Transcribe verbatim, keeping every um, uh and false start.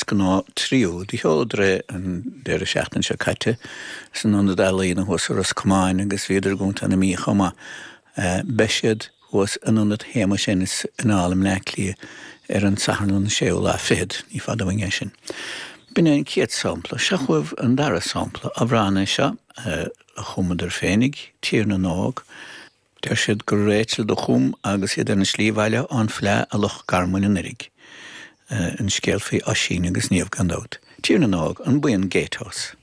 Deasghnáth Trio. Do sheoladar é an deireadh seachtaine seo caite san Ionad Ealaíon thuas i Ros Comáin agus bhíodar i gContae na Mí chomh maith. Beidh siad thuas in Ionad Shéamuis Ennis anall i mBleá Cliath ar an Satharn an séú lá fichead, ní fada uainn é sin. B'in é an chéad sampla. Seo chugaibh an dara sampla. Amhrán é seo a chumadar féinig, Tír na nÓg. Deir siad gur Rachel do chum agus iad ar an slí abhaile ón Fleadh i Loch Garman anuraidh. An scéal faoi Oisín agus Niamh gan dabht. Tír na nÓg, an buíon Gatehouse.